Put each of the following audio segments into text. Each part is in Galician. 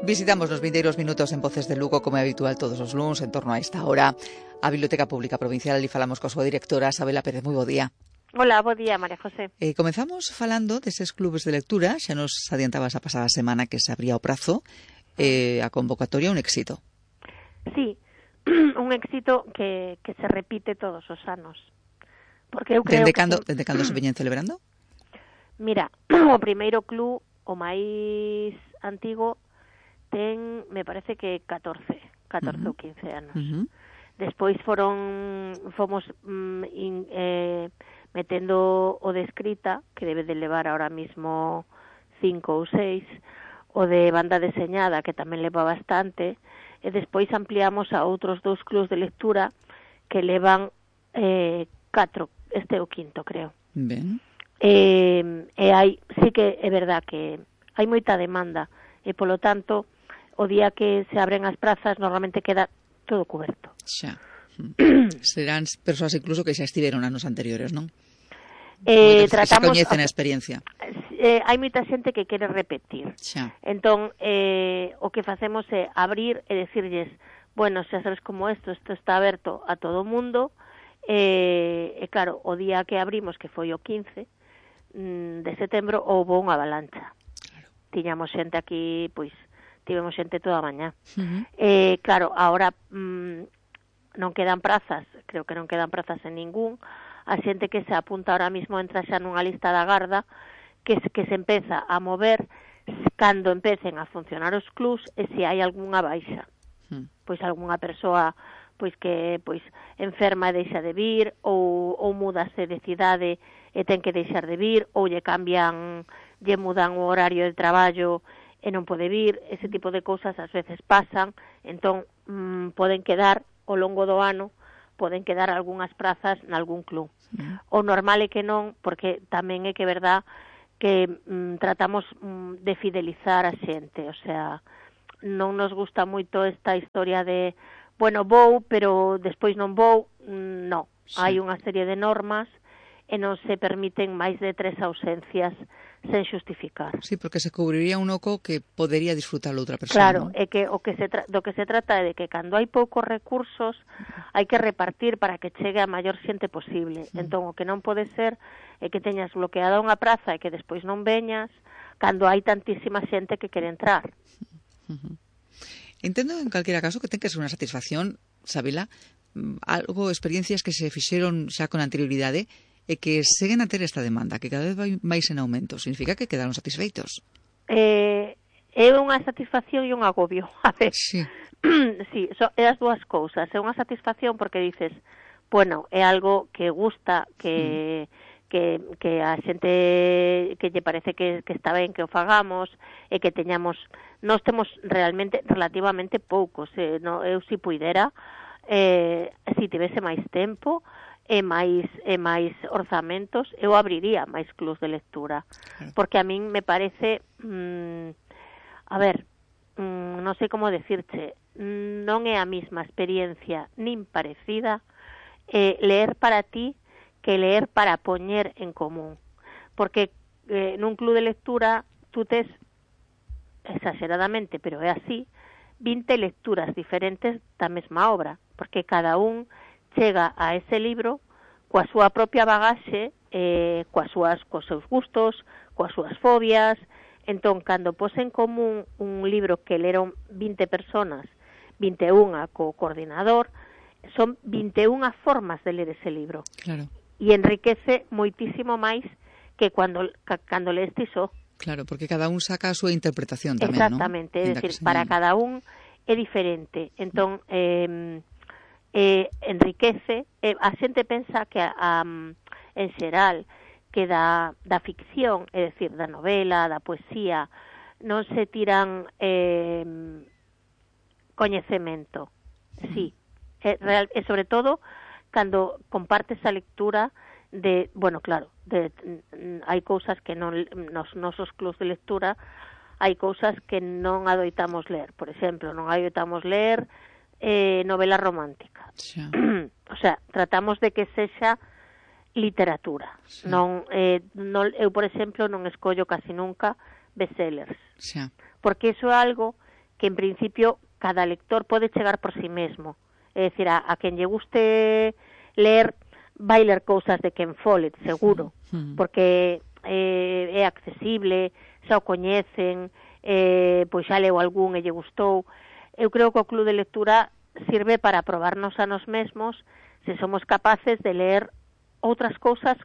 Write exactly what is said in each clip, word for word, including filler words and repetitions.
Visitamos nos vindeiros minutos en Voces de Lugo, como é habitual todos os luns, en torno a esta hora, a Biblioteca Pública Provincial, e falamos coa súa directora, Sabela Pérez. Moi bo día. Hola, bo día, María José. Eh, comenzamos falando deses clubes de lectura, xa nos adiantabas a pasada semana que se abría o prazo, eh, a convocatoria un éxito. Sí, un éxito que, que se repite todos os anos. Porque eu creo dende que... cando, se... dende cando se veñen celebrando? Mira, o primeiro club, o máis antigo, ten, me parece que catorce, catorce uh-huh. ou quince anos. Uh-huh. Despois foron, fomos mm, in, eh, metendo o de escrita, que debe de levar ahora mismo cinco ou seis, o de banda deseñada, que tamén leva bastante, e despois ampliamos a outros dous clubs de lectura que levan eh, catro, este é o quinto, creo. Ben. E, e hai, sí que é verdad que hai moita demanda, e polo tanto, o día que se abren as prazas normalmente queda todo coberto. Xa. Serán persoas incluso que xa estiveron anos anteriores, non? Eh, que tratamos, se coñecen a experiencia. Eh, hai moita xente que quere repetir. Xa. Entón, eh, o que facemos é abrir e decirlles, bueno, xa sabes como isto, isto está aberto a todo o mundo, e, e claro, o día que abrimos, que foi o quince de setembro, houve unha avalancha. Claro. Tiñamos xente aquí, pois, tivemos xente toda a mañá. Uh-huh. Eh, claro, agora mm, non quedan prazas, creo que non quedan prazas en ningún. A xente que se apunta ahora mismo entra xa nunha lista da garda que, que se empeza a mover cando empecen a funcionar os clubs e se hai algunha baixa. Uh-huh. Pois algunha persoa pois que pois enferma e deixa de vir, ou, ou mudase de cidade e ten que deixar de vir, ou lle cambian, lle mudan o horario de traballo e non pode vir, ese tipo de cousas ás veces pasan, entón mmm, poden quedar ao longo do ano, poden quedar algunhas prazas nalgún club. Mm. O normal é que non, porque tamén é que é verdad que mmm, tratamos mmm, de fidelizar a xente, o sea, non nos gusta moito esta historia de, bueno, vou, pero despois non vou, mmm, non. Sí. Hai unha serie de normas e non se permiten máis de tres ausencias sen xustificar. Sí, porque se cubriría un oco que podería disfrutar outra persoa. Claro, ¿no? é que o que se tra- do que se trata é de que cando hai poucos recursos hai que repartir para que chegue a maior xente posible. Mm. Entón, o que non pode ser é que teñas bloqueada unha praza e que despois non veñas cando hai tantísima xente que quere entrar. Uh-huh. Entendo, en calquera caso, que ten que ser unha satisfacción, Sabela, algo, experiencias que se fixeron xa con anterioridade e que seguen a ter esta demanda, que cada vez vai máis en aumento. Significa que quedaron satisfeitos? Eh, é unha satisfacción e un agobio. A ver, sí, sí, so, é as dúas cousas. É unha satisfacción porque dices, bueno, é algo que gusta, que, mm. que, que a xente que lle parece que, que está ben que o fagamos, e que teñamos, nós temos realmente relativamente poucos. Eh, no, eu si puidera, eh, si tivese máis tempo, e máis e máis orzamentos, eu abriría máis clubs de lectura, claro. Porque a min me parece, mmm, a ver, mmm, non sei como decirche, non é a mesma experiencia nin parecida eh, leer para ti que leer para poñer en común, porque eh, nun club de lectura tú tes, exageradamente, pero é así, vinte lecturas diferentes da mesma obra, porque cada un chega a ese libro coa súa propia bagaxe, eh, coas súas, coas seus gustos, coas súas fobias. Entón, cando pos en común un libro que leron vinte personas, vinte e unha co coordinador, son vinte e unha formas de ler ese libro. Claro. E enriquece moitísimo máis que cando, cando lees ti só. Claro, porque cada un saca a súa interpretación tamén, exactamente, ¿no? É dicir, para cada un é diferente. Entón, eh, eh, enriquece, eh, a xente pensa que a, um, en xeral que da, da ficción, é dicir, da novela, da poesía, non se tiran eh, coñecemento, sí, é, real, e sobre todo cando compartes a lectura de, bueno, claro, de, hai cousas que non, nos nosos clubs de lectura hai cousas que non adoitamos ler, por exemplo, non adoitamos ler eh, novela romántica. Sí. O sea, tratamos de que sexa literatura. Sí. Non, eh, non, eu, por exemplo, non escollo casi nunca bestsellers. Sí. Porque iso é algo que en principio cada lector pode chegar por sí mesmo. É dicir, a, a quen lle guste ler, vai ler cousas de Ken Follett, seguro, mm. porque eh, é accesible, xa o coñecen, eh, pois xa leu algún e lle gustou. Eu creo que o club de lectura sirve para probarnos a nos mesmos se somos capaces de ler outras cousas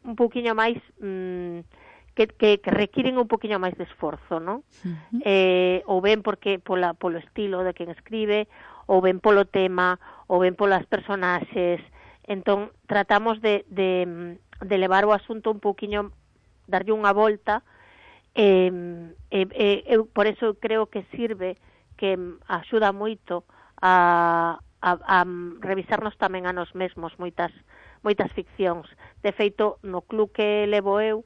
un poquinho máis mmm, que, que, que requiren un poquinho máis de esforzo, non? Uh-huh. Eh, ou ben porque pola, polo estilo de quen escribe, ou ben polo tema, ou ben polas personaxes. Entón, tratamos de, de, de levar o asunto un poquinho, darlle unha volta, eh, eh, eh, eu por eso creo que sirve, que axuda moito a, a, a revisarnos tamén a nos mesmos moitas, moitas ficcións. De feito, no club que levo eu,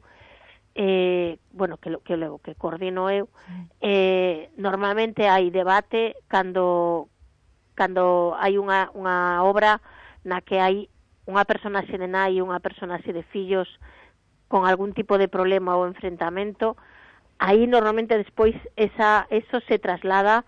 eh, bueno, que, que levo, que coordino eu, eh, normalmente hai debate cando, cando hai unha, unha obra na que hai unha personaxe de nai e unha personaxe de fillos con algún tipo de problema ou enfrentamento. Aí normalmente despois esa, eso se traslada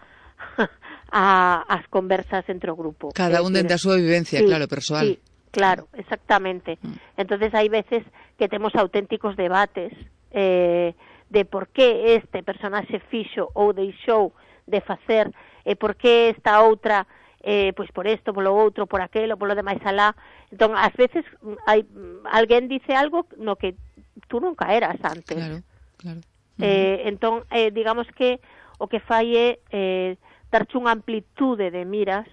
a, as conversas entre o grupo. Cada un dende a súa vivencia, sí, claro, persoal. Sí, claro, exactamente. Mm. Entonces hai veces que temos auténticos debates eh, de por que este personaxe fixo ou deixou de facer, e por que esta outra, eh, pois por isto, polo outro, por aquelo, polo demais alá. Entón, ás veces hai, alguén dice algo no que tú nunca eras antes. Claro, claro. Eh, entón, eh, digamos que o que fai é eh, darche unha amplitude de miras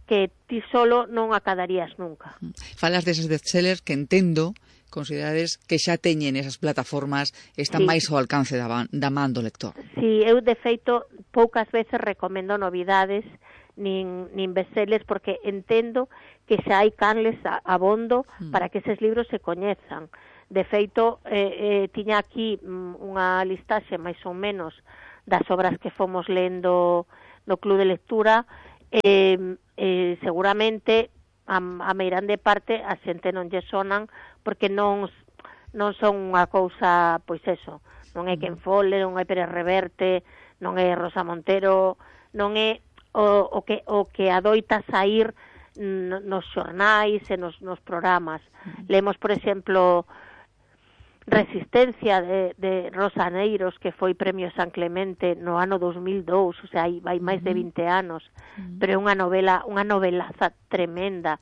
que ti solo non acadarías nunca. Falas deses bestsellers que entendo, considerades que xa teñen esas plataformas, están sí. máis ao alcance da, da man do lector. Sí, eu de feito poucas veces recomendo novidades nin, nin bestsellers, porque entendo que xa hai canles abondo mm. para que eses libros se coñezan. De feito, eh, eh, tiña aquí mm, unha listaxe máis ou menos das obras que fomos lendo no club de lectura, eh, eh, seguramente a, a meirande parte a xente non lle sonan porque non non son unha cousa, pois eso, non é Ken Follett, non é Pérez Reverte, non é Rosa Montero, non é o, o que o que adoita saír nos xornais e nos, nos programas. Lemos, por exemplo, Resistencia de, de Rosa Neiros, que foi premio San Clemente no ano dos mil dous, o sea, vai máis de vinte anos, uh-huh. pero é unha novela, unha novelaza tremenda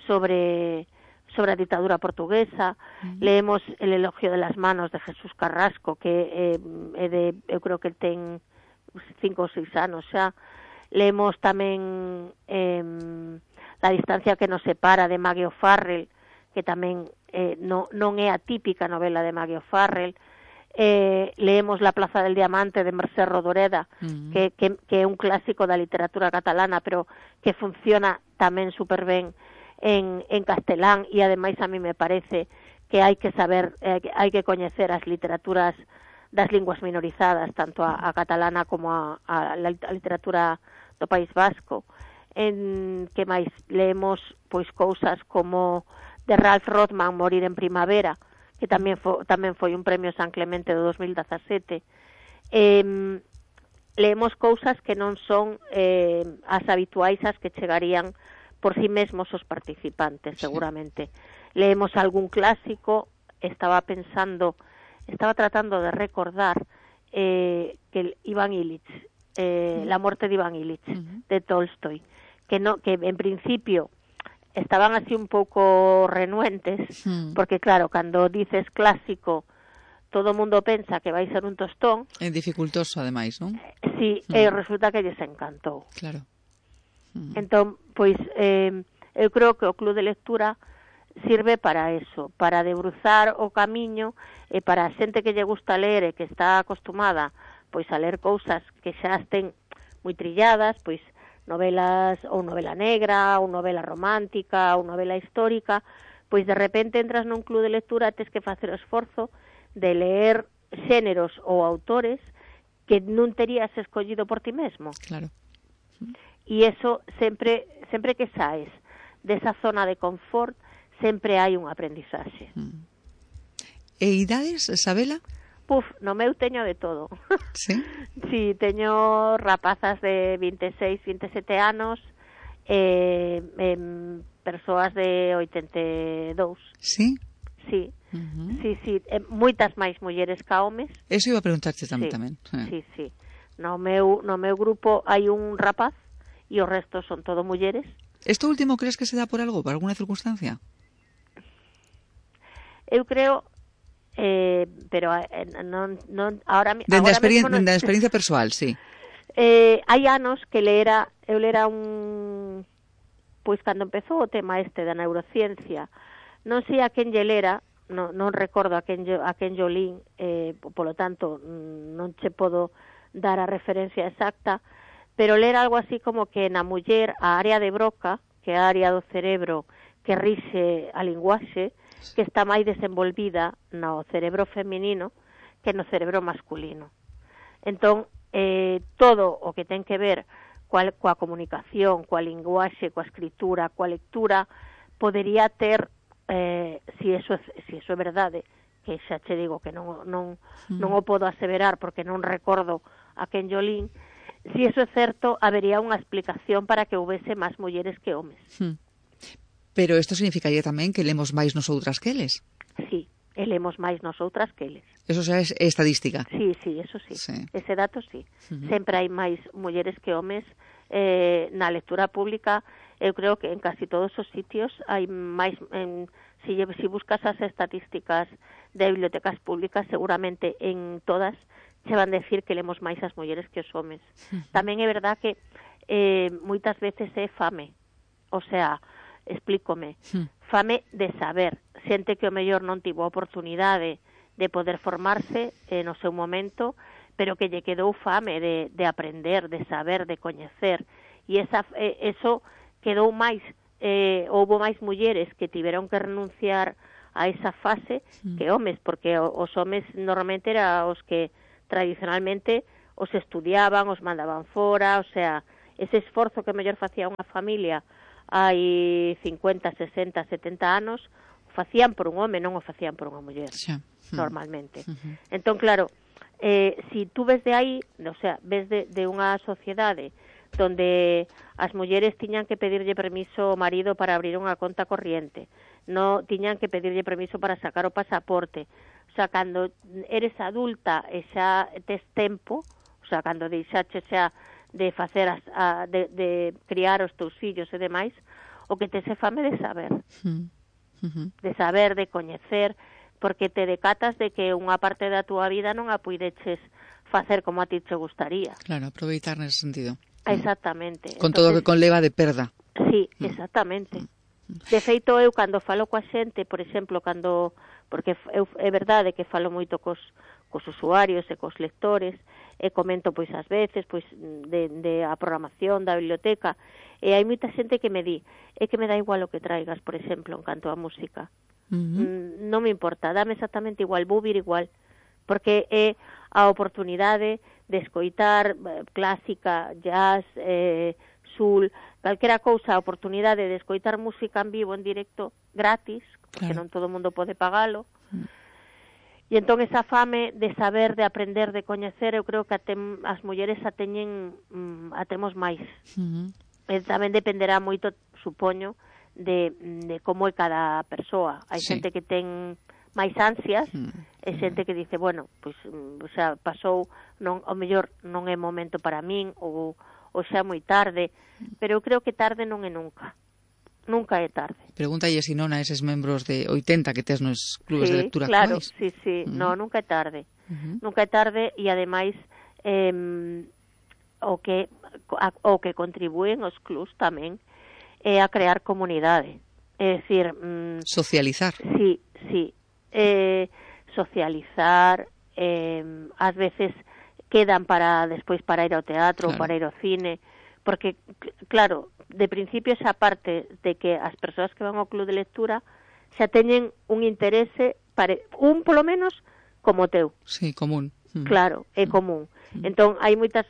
sobre sobre a ditadura portuguesa. Uh-huh. Leemos El elogio de las manos de Jesús Carrasco, que é, é de, eu creo que ten cinco ou seis anos xa. Leemos tamén eh, La distancia que nos separa de Maggie O'Farrell, que tamén eh, no, non é a típica novela de Maggie O'Farrell. Eh, leemos La plaza del diamante de Mercè Rodoreda, uh-huh. que, que, que é un clásico da literatura catalana, pero que funciona tamén super ben en, en castelán, e ademais a mí me parece que hai que saber, eh, que hai que coñecer as literaturas das linguas minorizadas, tanto a, a catalana como a, a, a literatura do País Vasco. En que máis leemos pois cousas como de Ralph Rothman, Morir en primavera, que tamén foi, tamén foi un premio San Clemente do dos mil dezasete. Eh, leemos cousas que non son eh, as habituais as que chegarían por si sí mesmos os participantes, seguramente. Sí. Leemos algún clásico, estaba pensando, estaba tratando de recordar eh, que Iván Illich, eh, uh-huh. La muerte de Iván Illich, uh-huh. de Tolstoy, que, no, que en principio estaban así un pouco renuentes, mm. porque claro, cando dices clásico, todo o mundo pensa que vai ser un tostón. É dificultoso, ademais, non? Sí, mm. e resulta que lles encantou. Claro. Mm. Entón, pois, eh, eu creo que o club de lectura sirve para eso, para debruzar o camiño, e para a xente que lle gusta ler e que está acostumada pois a ler cousas que xa estén moi trilladas, pois novelas ou novela negra, ou novela romántica, ou novela histórica, pois de repente entras nun club de lectura e tes que facer o esforzo de ler xéneros ou autores que non terías escollido por ti mesmo. Claro. E eso sempre, sempre que saes desa zona de confort, sempre hai un aprendizaxe. E idades, Sabela? Puf, no meu teño de todo. Sí? Sí, teño rapazas de vinte e seis, vinte e sete anos, eh, eh, persoas de oitenta e dous. Sí? Sí, Uh-huh. sí, sí, eh, moitas máis mulleres ca homes. Eso iba a preguntarte tamén. Sí, tamén. sí, sí. No meu, no meu grupo hai un rapaz e o resto son todo mulleres. ¿Esto último crees que se da por algo, por alguna circunstancia? Eu creo, eh, pero eh, non, non, ahora, Dende a agora experien- mesmo non... dende a experiencia persoal, sí. Eh, hai anos que lera, eu lera un... Pois cando empezou o tema este da neurociencia, non sei a quen lle lera, non, non recordo a quen, a quen yo lín, eh, polo tanto, non che podo dar a referencia exacta, pero ler algo así como que na muller a área de Broca, que é a área do cerebro que rixe a linguaxe, que está máis desenvolvida no cerebro feminino que no cerebro masculino. Entón, eh, todo o que ten que ver coa, coa comunicación, coa linguaxe, coa escritura, coa lectura, podería ter, eh, si eso, si eso é verdade, que xa che digo que non, non, non o podo aseverar porque non recordo a quen yo lín, si eso é certo, habería unha explicación para que houvese máis mulleres que homes. Hmm. Pero isto significaría tamén que lemos máis nosoutras que eles. Sí, e lemos máis nosoutras que eles. Eso xa é estadística. Sí, sí, eso sí. Sí. Ese dato sí. Uh-huh. Sempre hai máis mulleres que homes eh, na lectura pública. Eu creo que en casi todos os sitios hai máis... En, si, si buscas as estatísticas de bibliotecas públicas, seguramente en todas se van decir que lemos máis as mulleres que os homes. Uh-huh. Tamén é verdad que eh, moitas veces é fame. O sea, explícome, uh-huh. fame de saber. Xente que o mellor non tivo a oportunidade de poder formarse eh, no seu momento, pero que lle quedou fame de, de aprender, de saber, de coñecer. E esa, eh, eso quedou máis, eh, houbo máis mulleres que tiveron que renunciar a esa fase mm. que homes, porque os homes normalmente eran os que tradicionalmente os estudiaban, os mandaban fora, o sea, ese esforzo que mellor facía unha familia hai cincuenta, sesenta, setenta anos, facían por un home, non o facían por unha muller, xa. normalmente. Uh-huh. Entón, claro, eh, si tú ves de aí, o sea, ves de, de unha sociedade donde as mulleres tiñan que pedirlle permiso ao marido para abrir unha conta corriente, no tiñan que pedirlle permiso para sacar o pasaporte, o sea, cando eres adulta e xa tes tempo, o sea, cando deixache xa de facer as, a, de, de criar os teus fillos e demais, o que tes é fame de saber. Uh-huh. Uh-huh. De saber, de coñecer, porque te decatas de que unha parte da túa vida non a puideches facer como a ti te gustaría. Claro, aproveitar nese sentido. Exactamente. Con Entonces, todo o que conleva de perda. Sí, exactamente. De feito, eu cando falo coa xente, por exemplo, cando porque eu, é verdade que falo moito cos, cos usuarios e cos lectores, e comento pois ás veces pois de, de a programación da biblioteca, e hai moita xente que me di, é que me dá igual o que traigas, por exemplo, en canto a música. Uh-huh. Mm, non me importa, dame exactamente igual, vou vir igual, porque é a oportunidade de escoitar eh, clásica, jazz, eh, soul, calquera cousa, a oportunidade de escoitar música en vivo, en directo, gratis, porque claro. Non todo o mundo pode pagalo. Uh-huh. E entón esa fame de saber, de aprender, de coñecer, eu creo que atem, as mulleres a teñen, mm, a temos máis. Uh-huh. E tamén dependerá moito, supoño, de, de como é cada persoa. Hai sí. xente que ten máis ansias, uh-huh. e xente que dice, bueno, pois, o sea, pasou, non, o mellor non é momento para min, ou, ou xa moi tarde, pero eu creo que tarde non é nunca. Nunca é tarde. Pregúntalle se non a eses membros de oitenta que tes nos clubes sí, de lectura claro, actuais. Sí, sí, uh-huh. no, nunca é tarde. Uh-huh. Nunca é tarde e ademais eh, o que a, o que contribúen os clubs tamén é a crear comunidade. É dicir, mm, socializar. Sí, sí. Eh, socializar, eh, ás veces quedan para despois para ir ao teatro, claro. Ou para ir ao cine, porque claro, de principio esa parte de que as persoas que van ao club de lectura xa teñen un interese, pare, un polo menos como teu. Sí, común. Claro, é común. Entón, hai moitas,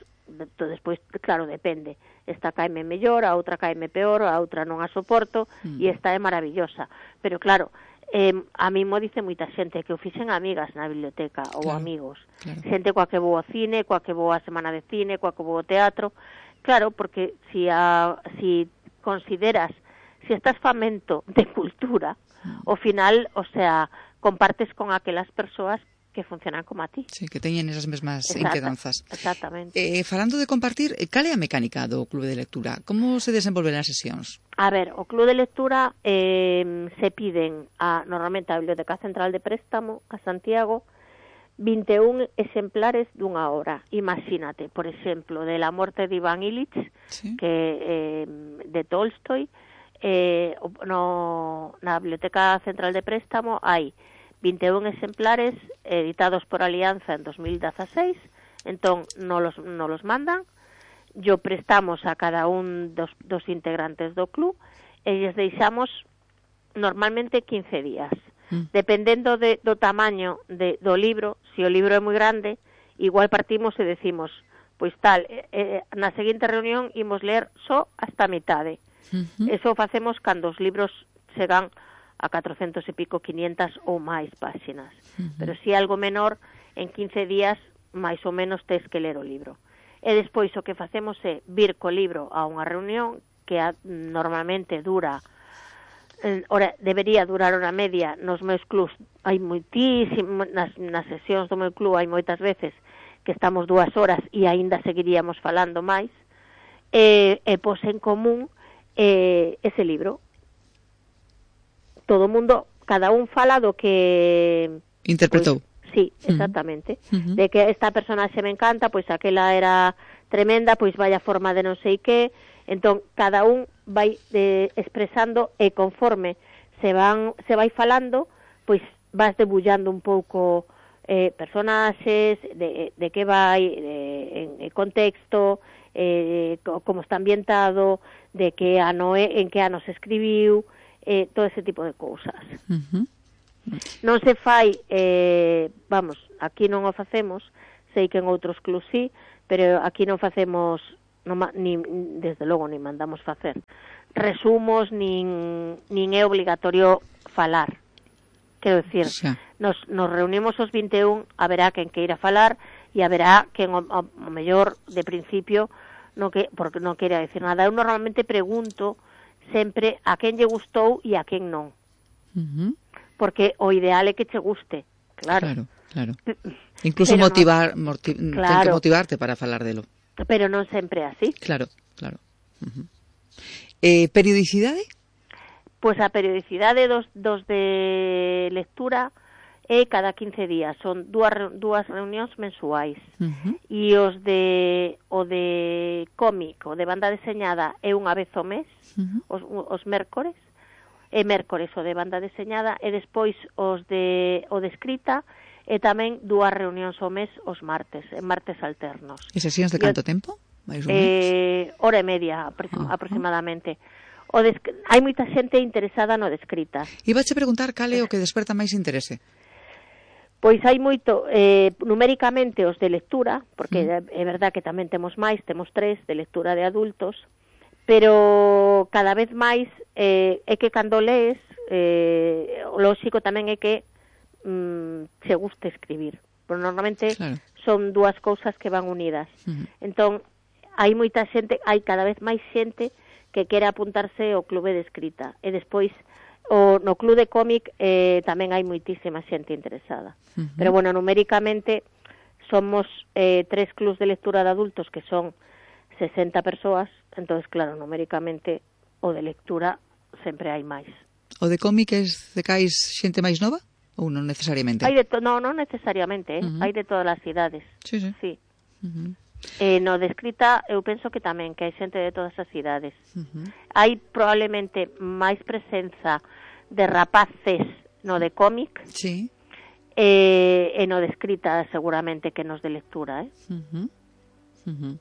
despois, claro, depende. Esta caime mellor, a outra caime peor, a outra non a soporto, mm. e esta é maravillosa. Pero claro, eh, a mí mo dice moita xente que o fixen amigas na biblioteca ou claro, amigos, claro. xente coa que vou ao cine, coa que vou á semana de cine, coa que vou ao teatro, claro, porque si, a, si consideras, si estás famento de cultura, mm. ao final, o sea, compartes con aquelas persoas que funcionan como a ti. Sí, que teñen esas mesmas Exacta, inquedanzas. Exactamente. Eh, falando de compartir, cal é a mecánica do Clube de Lectura? Como se desenvolven as sesións? A ver, o Clube de Lectura eh, se piden a, normalmente a Biblioteca Central de Préstamo, a Santiago, vinte e un exemplares dunha hora. Imagínate, por exemplo, de La muerte de Iván Ilich, sí. que eh, de Tolstoy, eh, no, na Biblioteca Central de Préstamo hai vinte e un exemplares editados por Alianza en dos mil dieciséis, entón non los, non los mandan, yo prestamos a cada un dos, dos integrantes do club e lles deixamos normalmente quince días. Mm. Dependendo de, do tamaño de, do libro, se o libro é moi grande, igual partimos e decimos, pois tal, eh, na seguinte reunión imos ler só hasta a mitade. Uh-huh. Eso facemos cando os libros chegan a catrocentos e pico, quinientas ou máis páxinas. Uh-huh. Pero se algo menor, en quince días, máis ou menos, tes que ler o libro. E despois o que facemos é vir co libro a unha reunión que a, normalmente dura, eh, ora, debería durar unha media nos meus clubs. Hai moitísimas, nas, nas sesións do meu club hai moitas veces que estamos dúas horas e aínda seguiríamos falando máis, e, e pos en común eh, ese libro. Todo o mundo, cada un fala do que interpretou. Pois, sí, exactamente. Uh-huh. De que esta personaxe me encanta, pois aquela era tremenda, pois vai a forma de non sei que. Entón, cada un vai de, expresando e conforme se van se vai falando, pois vas debullando un pouco eh, personaxes, de, de que vai, de, en, en contexto, eh, como está ambientado, de que ano é, en que ano se escribiu, eh, todo ese tipo de cousas. Uh-huh. Non se fai, eh, vamos, aquí non o facemos, sei que en outros clubs sí, pero aquí non facemos, non, ni, desde logo, ni mandamos facer resumos, nin, nin é obligatorio falar. Quero dicir, sí. nos, nos reunimos os vinte e un, haberá quen queira falar e haberá quen o, o, o mellor de principio no que, porque non queira decir nada. Eu normalmente pregunto sempre a quen lle gustou e a quen non. Uh-huh. Porque o ideal é que che guste, claro. Claro, claro. Incluso pero motivar, no, motiv, claro, ten que motivarte para falar delo. Pero non sempre é así. Claro, claro. Uh-huh. Eh, periodicidade? Pois a periodicidade dos, dos de lectura é cada quince días, son dúas, dúas reunións mensuais. Uh-huh. E os de o de cómic, o de banda deseñada é unha vez ao mes, uh-huh. os, os mércores, e mércores o de banda deseñada, e despois os de o de escrita, e tamén dúas reunións ao mes os martes, en martes alternos. E sesións de canto tempo? Mais ou eh, hora e media aproxim, uh-huh. aproximadamente. O de, hai moita xente interesada no de escrita. Ibache preguntar cal é o que desperta máis interese. Pois hai moito, eh, numéricamente os de lectura, porque mm. é verdad que tamén temos máis, temos tres de lectura de adultos, pero cada vez máis eh, é que cando lees, eh, o lóxico tamén é que mm, se guste escribir. Pero normalmente claro. Son dúas cousas que van unidas. Mm. Entón, hai moita xente, hai cada vez máis xente que quere apuntarse ao clube de escrita. E despois, o, no club de cómic eh, tamén hai moitísima xente interesada. Uh-huh. Pero, bueno, numéricamente somos eh, tres clubs de lectura de adultos que son sesenta persoas, entonces, claro, numéricamente o de lectura sempre hai máis. O de cómic es de cais xente máis nova? Ou non necesariamente? Hai de to- no, non necesariamente, eh? Uh-huh. Hai de todas as idades. Sí, sí. Sí. Uh-huh. Eh, no de escrita eu penso que tamén, que hai xente de todas as idades. Uh-huh. Hai probablemente máis presenza de rapaces no de cómic, sí. eh, e no de escrita seguramente que nos de lectura, eh? Uh-huh. Uh-huh.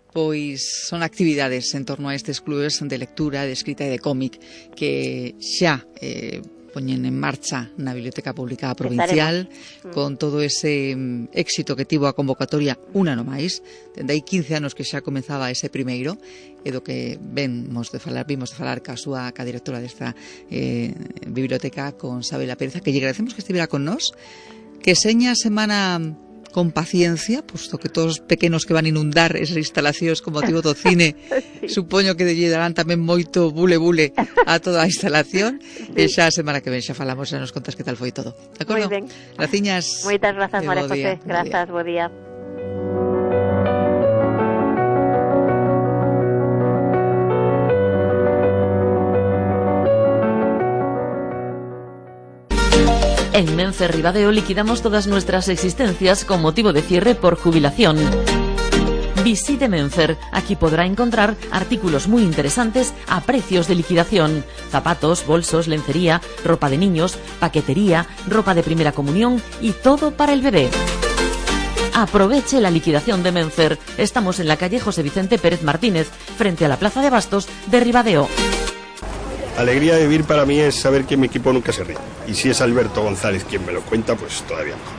Pois son actividades en torno a estes clubes de lectura, de escrita e de cómic que xa eh, poñen en marcha na Biblioteca Pública Provincial mm. con todo ese mm, éxito que tivo a convocatoria un ano máis. Dende hai quince anos que xa comezaba ese primeiro, e do que vemos de falar, vimos de falar ca súa ca directora desta eh, biblioteca, con Sabela Pérez, que lle agradecemos que estivera con nós, que seña a semana con paciencia, posto que todos os pequenos que van inundar esas instalacións con motivo do cine, sí. Supoño que lle darán tamén moito bule-bule a toda a instalación, sí. E xa a semana que ven xa falamos, xa nos contas que tal foi todo. De acordo? Moi ben. Graciñas. Moitas grazas, María José. Grazas, bo día. En Menfer Ribadeo liquidamos todas nuestras existencias con motivo de cierre por jubilación. Visite Menfer, aquí podrá encontrar artículos muy interesantes a precios de liquidación. Zapatos, bolsos, lencería, ropa de niños, paquetería, ropa de primera comunión y todo para el bebé. Aproveche la liquidación de Menfer. Estamos en la calle José Vicente Pérez Martínez, frente a la Plaza de Abastos de Ribadeo. Alegría de vivir para mí es saber que mi equipo nunca se rinde. Y si es Alberto González quien me lo cuenta, pues todavía mejor.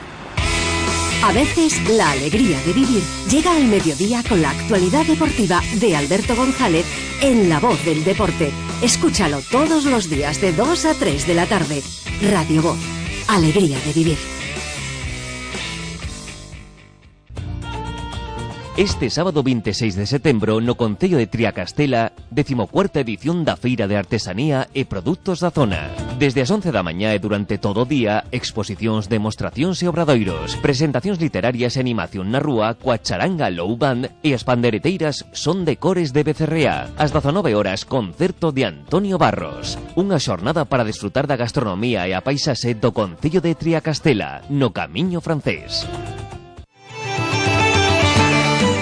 A veces, la alegría de vivir llega al mediodía con la actualidad deportiva de Alberto González en La Voz del Deporte. Escúchalo todos los días de dos a tres de la tarde. Radio Voz. Alegría de vivir. Este sábado veintiséis de setembro no Concello de Triacastela, decimocuarta edición da Feira de Artesanía e Produtos da Zona. Desde as once da mañá e durante todo o día, exposicións, demostracións e obradoiros, presentacións literarias e animación na rúa coa charanga Low Band e as pandereteiras Son de Cores de Becerrea. Ás dezanove horas, concerto de Antonio Barros. Unha xornada para desfrutar da gastronomía e a paisaxe do Concello de Triacastela, no Camiño Francés.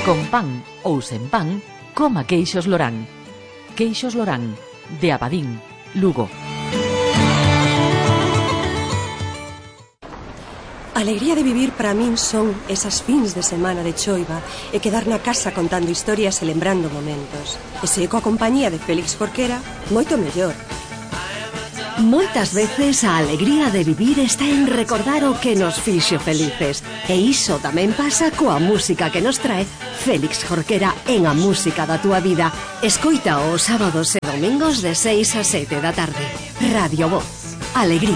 Con pan ou sen pan, coma queixos Lorán. Queixos Lorán, de Abadín, Lugo. Alegría de vivir para min son esas fins de semana de choiva e quedar na casa contando historias e lembrando momentos. E se coa compañía de Félix Jorquera, moito mellor. Moitas veces a alegría de vivir está en recordar o que nos fixo felices. E iso tamén pasa coa música que nos trae Félix Jorquera en A Música da Túa Vida. Escoita os sábados e domingos de seis a sete da tarde. Radio Voz. Alegría.